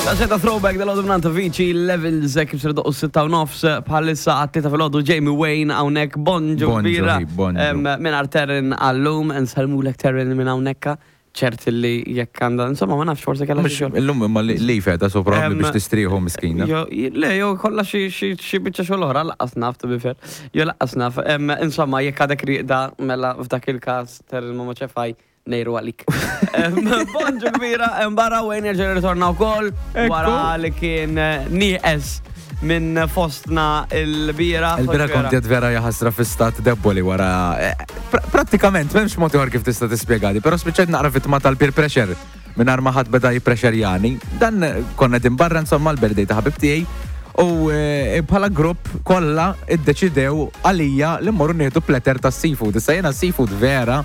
Taxxetta throwback dal-għodu mnanta Vici Levels kif ser doqqu 6 u nofs bħalissa għat-tlieta fil-għodu Jamie Wayne hawnhekk bonġu Bonġu, kbira. hi, bonġu. Mingħajr Terren għallum, nsellmulek Terren minn hawnhekk ċert li jekk għandha, insomma ma nafx forsi kellha xi xogħol. Illum imma li feta so probabbli biex tistrieħu miskina. Jo, le, jo kollha xi xi biċċa xogħol oħra laqqas naf to be fair. Jo laqqas naf. Insomma, jekk għadek rieqda mela f'dak il-każ Terren ma ċefaj nejru għalik. Bonġu kbira, barra Wayne jerġa' jirritorna wkoll wara li kien eh, nieqes minn fostna il-bira. Il-bira kont qed vera jaħasra fi stat deboli wara. Eh, prattikament m'hemmx mod ieħor kif tista' tispjegadi, però spiċċajt naqra vittma tal-peer pressure mingħajr ma ħadd beda jipprexerjani. Dan konna din barra insomma l-birthday ta' ħabib tiegħi u eh, bħala grupp kollha iddeċidew għalija li mmorru nieħdu platter ta' seafood. Issa jiena seafood vera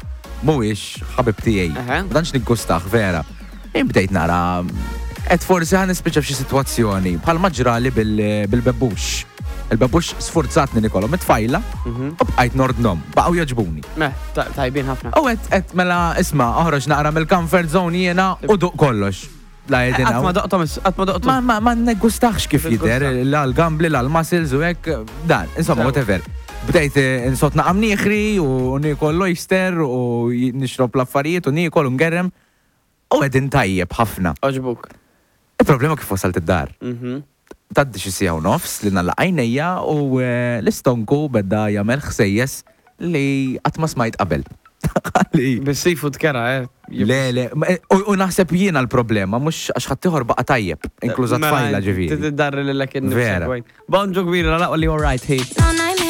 mhuwiex ħabib tiegħi. Ma tantx niggustah vera. Jien bdejt nara qed forsi ħa nispiċċa f'xi sitwazzjoni bħalma ġrali bil-bebbux. Il-bebbux sfurzatni nikolhom it-tfajla mhm. u bqajt nordnom, baqgħu jogħġbuni. Meh, tajbin ħafna. U qed qed mela isma' oħroġ naqra mill-comfort zone jiena u duq kollox. La jedin Qatt ma doqtom, qatt ma doqtom. Ma ma ma neggustax kif jidher, la l-gambli, la l-muscles u hekk, dan, insomma, whatever. Bdejt eh, insot naqam nieħri u niekol l-oyster u nixrob l-affarijiet u niekol u ngerrem. U qegħdin tajjeb ħafna. Għoġbuk. Il-problema kif wasalt id-dar. Mhm. Tgħaddi xi siegħa u nofs li nagħlaq għajnejja u l-istonku beda jagħmel ħsejjes li qatt ma smajt qabel. Qalli. Bis-seafood kera, eh? Le, le, u naħseb jiena l-problema, mhux għax ħaddieħor baqa' tajjeb, inkluża tfajla ġifieri. Mela, tiddarri lilek innifsek. Vera. Bonġu kbira, laqgħu li all right, hi.